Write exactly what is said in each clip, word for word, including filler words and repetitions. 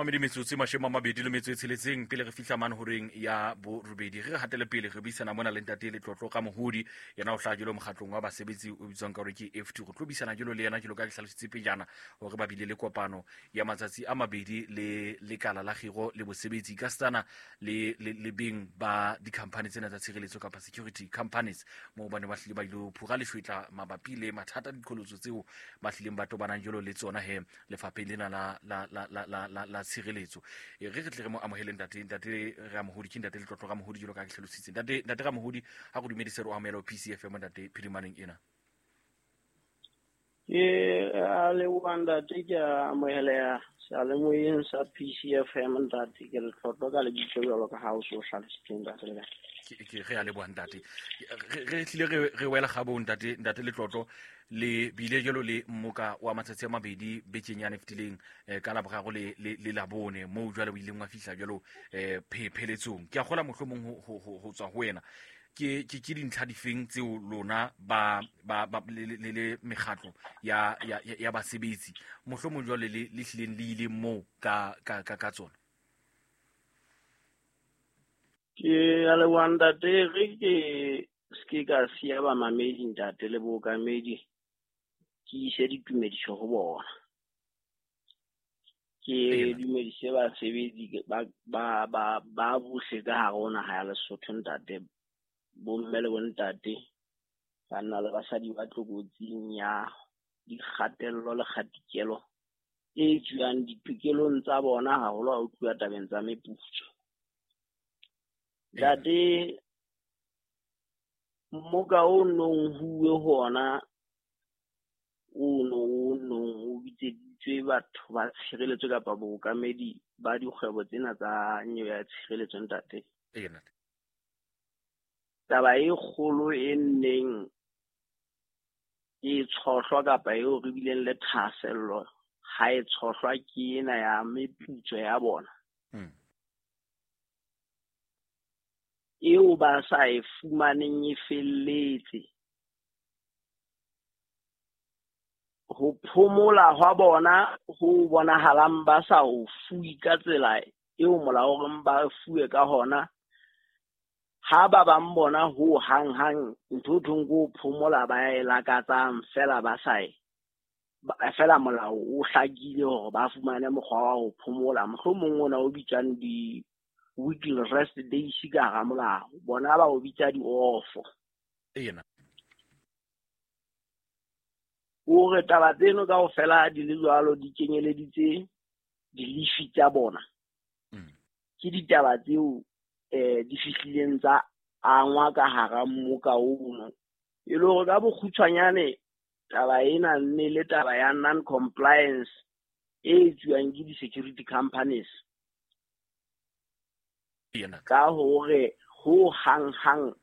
Mamedi metsotso e mashome a mabedi le metso e tsheletseng pele re fihla mane horeng ya borobedi. Re hatele pele re buisana mona le ntate Letlotlo ka Mohodi, yena o hlaha jwalo mokgatlong wa basebetsi o bitswang ka hore ke F T. Re tlo buisana jwalo le yena jwalo ka ke hlalositse pejana hore ba bile le kopano ya matsatsi a mabedi le lekala la kgiro le bosebetsi ka setsana le, le, le beng ba di-company tsena tsa tshireletso kapa security companies, moo ba ne ba hlile ba ilo phura leshwetla mabapi le mathata diqholotso tseo ba hlileng ba tobanang jwalo le tsona he lefapheng lena la, la, la, la, la, la, la tshireletso. E re re tle re mo amohele ntate, ntate Ramohodi, ke ntate Letlotlo Ramohodi jwalo ka ke hlalositse. Ntate, ntate Ramohodi, ha go dumedise re o amohela ho P C F M ntate phirimaneng ena. Ke a leboha ntate, ke a amoheleha seyalemoyeng sa P C F M ntate, ke Letlotlo ka lebitso jwalo ka ha o so hlalositse ntate le kae. Ke, ke re a leboha ntate. Re, re tlile re, re wela kgabong ntate, ntate Letlotlo, le bile jwalo le mmoka wa matsatsi a mabedi bekeng yane fetileng, eh, ka Laboraro le, le, le Labone, moo jwale o ileng wa fihla jwalo, eh, phe-, pheletsong. Ke a kgolwa mohlomong ho, ho, ho, ho tswa ho wena. Ke, ke, ke dintlha difeng tseo lona ba, ba, ba, le, le, le, le mekgatlo ya, ya, ya, ya basebetsi mohlomong jwale le, le hlileng le ile moo ka, ka, ka, ka tsona? Ke a leboha ntate, re ke se ke ka siya bamamedi ntate le bookamedi, ke ise ditumediso ho bona. Ke Eya. dumedise basebetsi ba, ba, ba, ba bohle ka hare ho naha ya Lesotho ntate, bomme le bontate, banna le basadi ba tlokotsing ya dikgatello le kgatikelo e tswang ditokelong tsa bona haholo ha ho tluwa tabeng tsa meputso. Eya. Ntate, mmoka o nong huwe hona o no o nong o bitseditswe batho ba tshireletso kapa bookamedi ba dikgwebo tsena tsa nyewe ya tshireletso ntate. Eya, ntate. Taba e kgolo e nneng e tshohlwa kapa eo re bileng le thahasello ha e tshohlwa ke ena ya meputso ya bona. Hmm. Eo ba sa e fumaneng e felletse. Ho phomola hwa bona ho bonahalang ba sa o fuwe ka tsela eo molao o reng ba fuwe ka hona. Ha ba bang bona ho hang-hang ntho ho thweng ke ho phomola ba e lakatsang fela ba sa e, ba, fela molao o hlakile hore ba fumane mokgwa wa ho phomola, mohlomong ona o bitswang di-weekly rest days ka hara molao, bona ba o bitsa di-off. Ena. O re taba tseno kaofela di le jwalo di kenyeleditse di-leave tsa bona. Mm. Ke ditaba tseo, eh, di fihlileng tsa angwa ka hara mmoka ono. E le hore ka bokgutshwanyane taba ena nne le taba ya non-compliance e etsuwang ke di-security companies. Ena. Ka hore ho hang-hang,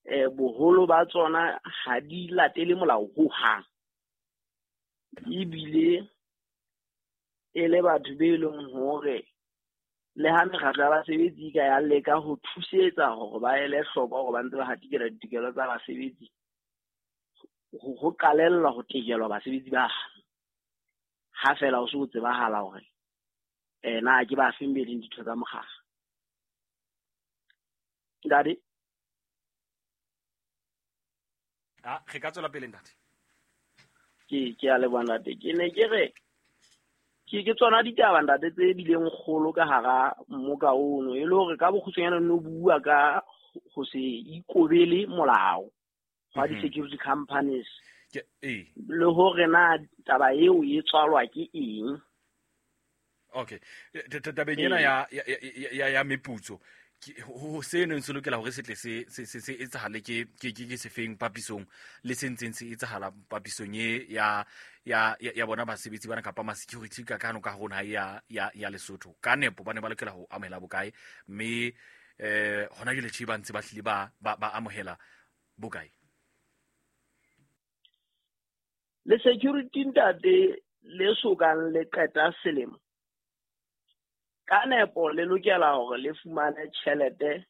eh, boholo ba tsona ha di latele molao ho hang. Ebile e le batho be leng hore le ha mekgatlo ya basebetsi e ka ya leka ho thusetsa hore ba ele hloko hore ba ntse ba hatikela ditokelo tsa basebetsi, ho, ho qalella ho tekelwa basebetsi ba ha fela ho se ho tsebahala hore, eh, na ke ba feng be leng ditho tsa mokgatlo. Ntate? Ah, re ka tswela pele ntate. Ke, ke a leboha ntate. Ke ne ke re ke, ke tsona ditaba ntate tse bileng kgolo ka hara mmoka ono, e le hore ka bokgutshwanyane no bua ka ho se ikobele molao wa Mhm. di-security companies. Ke, ee. Le hore na taba eo e tswalwa ke eng. Okay. T-, t-, tabeng ena Ee. ya, ya, ya, ya, ya meputso, ke, ho, ho, se neng se lokela hore se tle se, se, se, se etsahale ke, ke, ke, ke sefeng papisong le se ntseng se etsahala papisong e ya, ya, ya, ya bona basebetsi bana kapa ma-security ka kano ka hona ya, ya, ya Lesotho. Ka nepo ba ne ba lokela ho amohela bokae, mme, eh, hona jwale tjhe ba ntse ba hlile ba, ba, ba amohela bokae? Le security ntate le sokang le qeta selemo, ka nepo le lokela hore le fumane tjhelete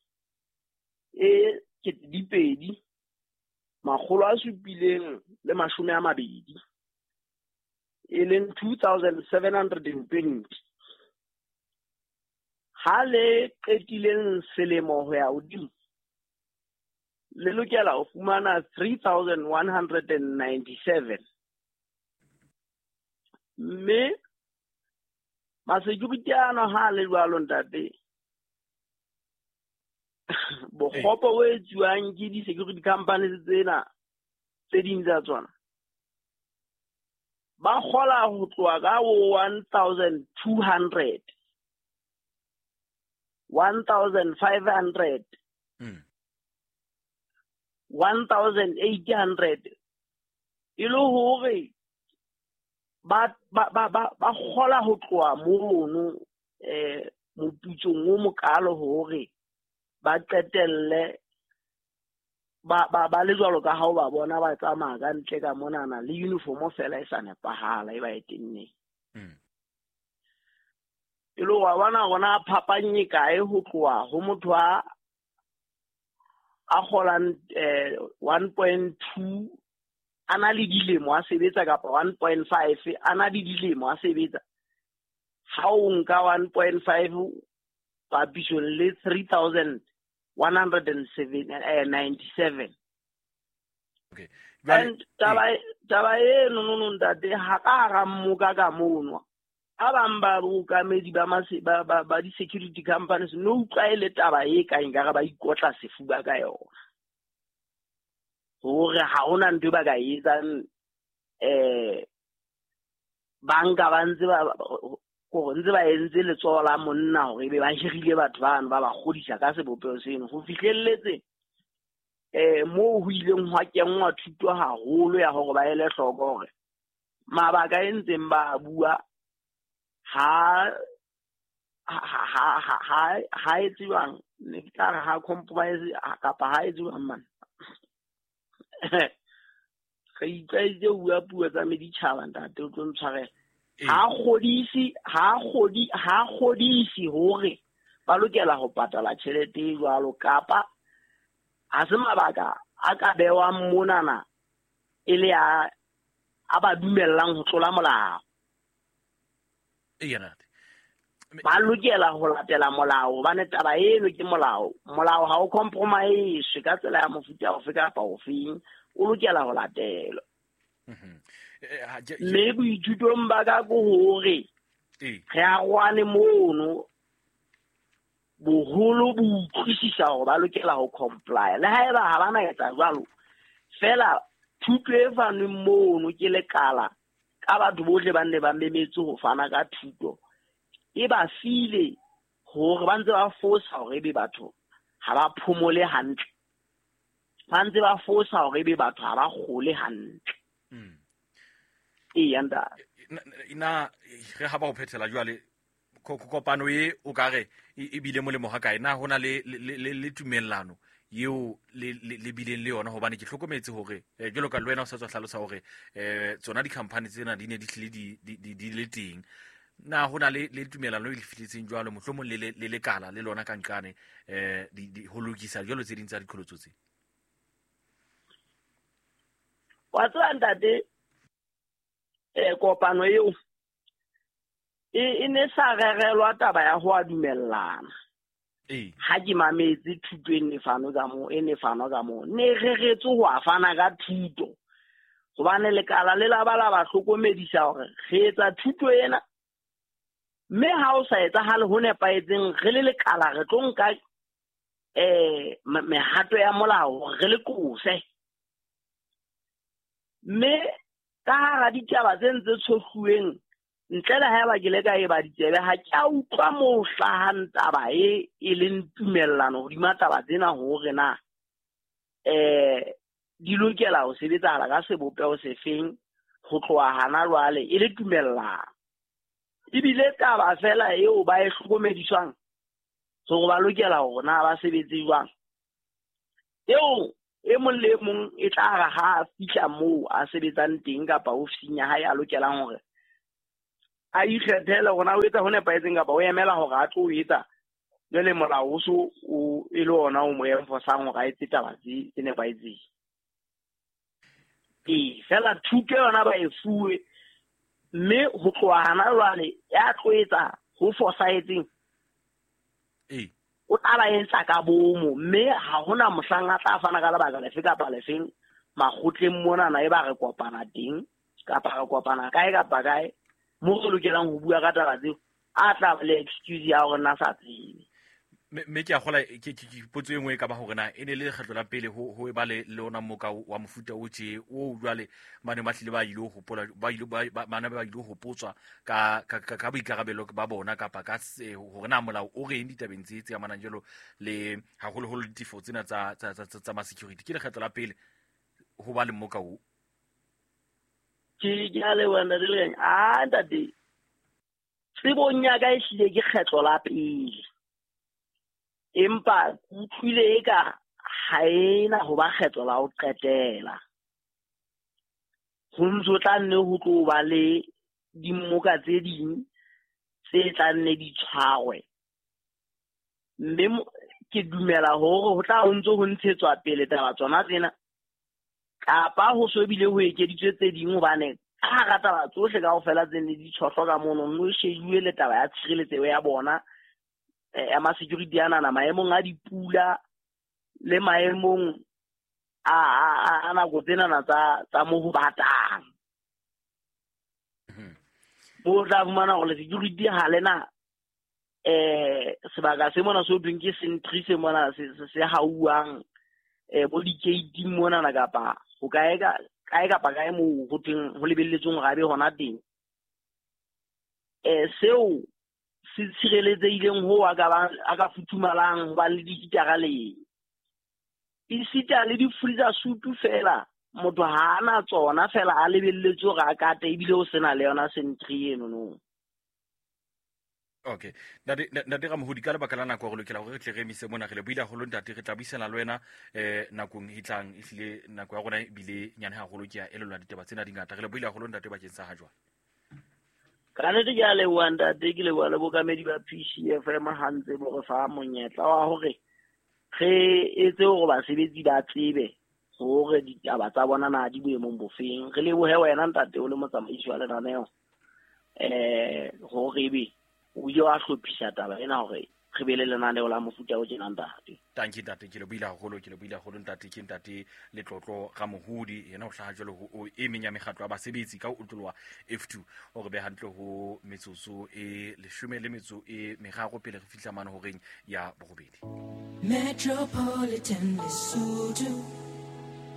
e kete di pedi, makgolo a supileng le mashome a mabedi, e leng two thousand seven hundred and twenty. Ha le qetileng selemo ho ya hodimo le lokela ho fumana three thousand one hundred and ninety-seven. Mme ma-security ano ha le jwalo ntate, bokgopo bo etsuwang ke di-security companies tsena tse ding tsa tsona, ba kgola ho tloha ka one thousand two hundred, one thousand five hundred, one thousand eight hundred, e le hore ba ba ba ba kgola ho tloha mono eh moputsong o mokalo hore ba qetelle ba ba ba le jwalo ka ha o ba bona ba tsamaya ka ntle ka monana le uniform fela e sa nepahala e ba e tenneng. E le wa bona rona phapang e kae ho tloha ho motho a a kgolang eh one point two a na le dilemo a sebetsa kapa one point five a na le dilemo a sebetsa. Ha o nka one point five papisong le three thousand one hundred ninety-seven. Okay. And taba taba eno no no ntate ha ka hara mmoka ka mono. A bang ba bookamedi ba ba ba ba di-security companies no utlwa e le taba e kang ekare ba ikotla sefuba ka yona. Hore ha hona ntho e ba ka e etsang, eh banka ba ntse ba hore ntse ba entse letsoho la monna hore ebe ba hirile batho bano ba ba kgodisa ka sebopeho seno. Ho fihlelletse eh moo ho ileng hwa kenngwa thuto haholo ya hore ba ele hloko hore mabaka e ntseng ba bua ha ha ha ha ha e tsewang ne ke tla re ha compromise kapa ha e tsewang man. Re itlwaeditse ho bua puo tsa meditjhaba ntate, o tlo ntshwarela. Ha kgodisi ha kgodi ha kgodisi hore ba lokela ho patala tjhelete e jwalo kapa ha se mabaka a ka bewang monana e le a a ba dumellang ho tlola molao. Ba lokela ho latela molao hobane taba eno ke molao. Molao ha o compromise ka tsela ya mofuta ofe kapa ofeng, o lokela ho latelwa. Mme boithutong ba ka ke hore re arohane mono, boholo bo utlwisisa hore ba lokela ho comply. Le haeba ha ba na etsa jwalo, feela thuto e fanweng mono ke lekala ka batho bohle ba nne ba memetse ho fana ka thuto, e ba file hore ba ntse ba fosa hore ebe batho ha ba phomole hantle, ba ntse ba fosa hore ebe batho ha ba kgole hantle. Ee, ntate. Ina re ha ba ho phethela jwale kopano e o ka re e bile molemo ha kae? Na hona le le le tumellano eo le le bileng le yona? Hobane ke hlokometse hore jwalo ka le wena o sa tswa hlalosa hore eh tsona di-company tsena di ne di hlile di di di le teng. Na hona le le tumellano e le fihletseng jwalo mohlomong le le lekala le lona ka nqane eh di ho lokisa jwalo tse ding tsa diqholotso tse? Wa tseba ntate, eh kopano eo e e ne sa rerelwa taba ya ho a dumellana. Ha ke mametse thuto e ne fano ka moo, e ne fano ka moo, ne reretswe ho a fana ka thuto. Hobane lekala le la ba la ba hlokomedisa hore re etsa thuto ena, mme ha o sa etsahale ho nepahetseng re le lekala re tlo nka eh mehato ya molao re le qose. Mme ka hara ditaba tse ntse tshohluweng ntle le haeba ke le ka e ba ditsebe, ha ke a utlwa moo hlahang taba e e leng tumellano hodima taba tsena hore na eh di lokela ho sebetsahala ka sebopeho sefeng ho tloha hana jwale e le tumellano. Ebile taba fela eo ba e hlokomediswang hore ba lokela hore na ba sebetse jwang, eo e mong le mong e tla re ha a fihla moo a sebetsang teng kapa ofising ya hae a lokelang hore a ikgethele hore na o etsa ho nepahetseng kapa o emela hore a tlo etsa jwale molao o so o e le ona o mo enforcang hore a etse taba tse nepahetseng. Ee, fela thuto yona ba e fuwe, mme ho tloha hana jwale ya tlo etsa ho fosahetseng O tla ba etsa ka bomo, mme ha hona mohlang a tla fana ka lebaka lefe kapa lefeng makgotleng monana e ba re kopana teng kapa re kopana kae kapa kae mo re lokelang ho bua ka taba tseo, a tla ba le excuse ya hore na sa tsebe. Mme ke a kgola ke potso e nngwe e ka ba hore na e ne le lekgetlo la pele ho ho eba le le ona moka wa mofuta o tje o jwale bane ba hlile ba ile ho hopola ba ile ba bana ba ile ho hopotswa ka ka ka boikarabelo ba bona kapa ka hore na molao o reng ditabeng tse tse amanang jalo le haholoholo ditefo tsena tsa tsa tsa tsa ma security. Ke lekgetlo la pele ho ba le moka o. Ke ke a leboha ntate Lekganya. Ah ntate, tsebong ya ka ehlile ke kgetlo la pele, empa utlwile eka ha ena ho ba kgetlo la ho qetela. Ho ntso tla nne ho tlo ba le dimmoka tse ding tse tla nne di tshwarwe, mme ke dumela hore ho tla ho ntso ho ntshetswa pele taba tsona tsena, kapa ho so bile ho ekeditswe tse ding, hobane ka hara taba tsohle kaofela tse ne di tshohlwa ka mono, no shejuwe le taba ya tshireletseho ya bona ya ma security anana maemong a dipula le maemong a a nako tsenana tsa tsa mo ho batang. Bo tla fumana hore security ha lena eh sebaka se mona so thweng ke sentry se mona se se hauwang eh bo di-gate monana kapa ho kae ka kae kapa kae moo ho thweng ho lebelletsweng hore a be hona teng. Eh seo se tshireletsehileng ho a ka ba a ka futhumalang ho ba le dikitara le esita le di-freezer suit fela motho ha ana tsona fela a lebelletse hore a kate ebile o sena le yona sentry eno no. Okay, ntate ntate Ramohodi, ka lebaka la nako re lokela hore re tle re emise mona. Re le buile haholo ntate, re tla buisana le wena eh nakong e tlang. Ehlile nako ya rona ebile nyane haholo, ke a elellwa ditaba tsena di ngata. Re le buile haholo ntate bakeng sa ha jwale. Ka nnete ke a leboha ntate, ke leboha le bokamedi ba P C F M ha ntse bo re fa monyetla wa hore re etse hore basebetsi ba tsebe hore ditaba tsa bona na di boemong bofeng. Re lebohe wena ntate o le motsamaisi wa lenaneo eh hore ebe o ile wa hlophisa taba ena hore re be le lenaneo la mofuta o tjena ntate. Tanki ntate, ke le buile haholo, ke le buile haholo ntate. Ke ntate Letlotlo Ramohodi, yena o hlaha jwalo ho e meng ya mekgatlo ya basebetsi ka ho otloloha F two. O re be hantle ho metsotso e leshome le metso e meraro pele re fihla mane horeng ya borobedi. Metropolitan Lesotho,